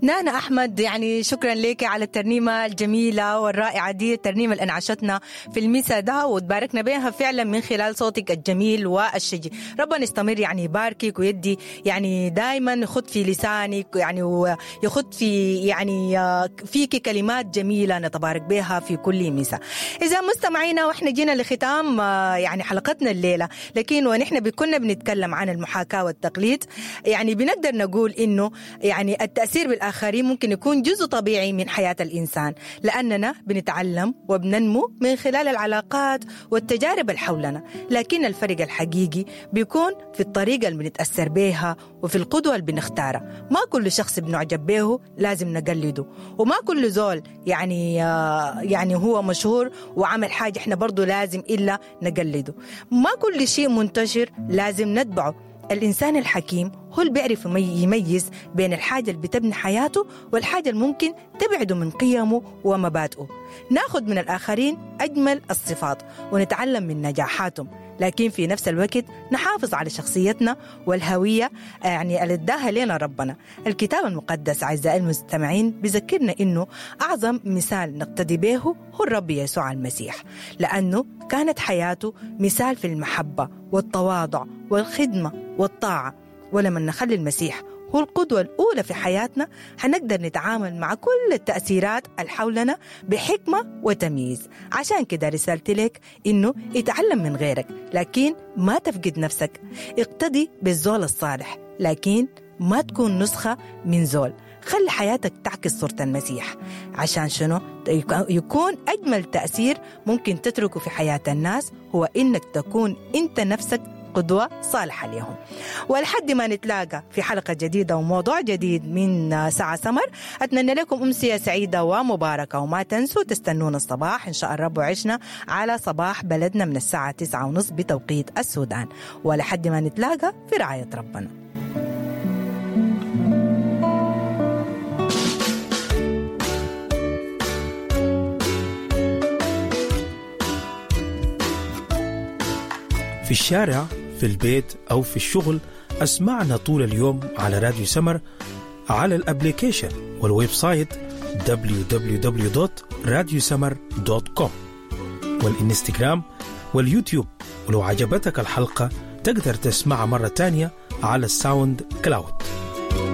نانا أحمد، يعني شكرا لك على الترنيمة الجميلة والرائعة دي، الترنيمة اللي أنعشتنا في المسا ده وتباركنا بها فعلا من خلال صوتك الجميل والشجي. ربنا يستمر يعني يباركك ويدي يعني دائما يخط في لسانك، يعني ويخط في يعني فيك كلمات جميلة نتبارك بها في كل مسا. إذا مستمعينا، واحنا جينا لختام يعني حلقتنا الليلة، لكن ونحن كنا بنتكلم عن المحاكاة والتقليد، يعني بنقدر نقول إنه يعني التأثير بالآخرين ممكن يكون جزء طبيعي من حياة الإنسان، لأننا بنتعلم وبننمو من خلال العلاقات والتجارب اللي حولنا. لكن الفرق الحقيقي بيكون في الطريقة اللي بنتأثر بيها وفي القدوة اللي بنختارها. ما كل شخص بنعجب به لازم نقلده، وما كل زول يعني هو مشهور وعمل حاجة احنا برضو لازم إلا نقلده. ما كل شيء منتشر لازم نتبعه. الإنسان الحكيم هو اللي بيعرف يميز بين الحاجة اللي بتبني حياته والحاجة اللي ممكن تبعده من قيمه ومبادئه. ناخد من الآخرين أجمل الصفات ونتعلم من نجاحاتهم، لكن في نفس الوقت نحافظ على شخصيتنا والهوية يعني اللي اداها لنا ربنا. الكتاب المقدس أعزائي المستمعين بذكرنا إنه أعظم مثال نقتدي به هو الرب يسوع المسيح، لأنه كانت حياته مثال في المحبة والتواضع والخدمة والطاعة. ولما نخلي المسيح هو القدوة الأولى في حياتنا، حنقدر نتعامل مع كل التأثيرات اللي حولنا بحكمة وتمييز. عشان كده رسالتي لك إنه اتعلم من غيرك، لكن ما تفقد نفسك. اقتدي بالزول الصالح، لكن ما تكون نسخة من زول. خلي حياتك تعكس صورة المسيح، عشان شنو؟ يكون أجمل تأثير ممكن تتركه في حياة الناس هو إنك تكون أنت نفسك قدوة صالحة لهم. ولحد ما نتلاقى في حلقة جديدة وموضوع جديد من ساعة سمر، أتمنى لكم أمسية سعيدة ومباركة، وما تنسوا تستنونا الصباح إن شاء الرب وعشنا على صباح بلدنا من الساعة 9:30 بتوقيت السودان. ولحد ما نتلاقى في رعاية ربنا. في الشارع، في البيت أو في الشغل، أسمعنا طول اليوم على راديو سمر، على ال application وال website www.radiosummer.com والإنستغرام واليوتيوب. ولو عجبتك الحلقة تقدر تسمعها مرة تانية على ال SoundCloud.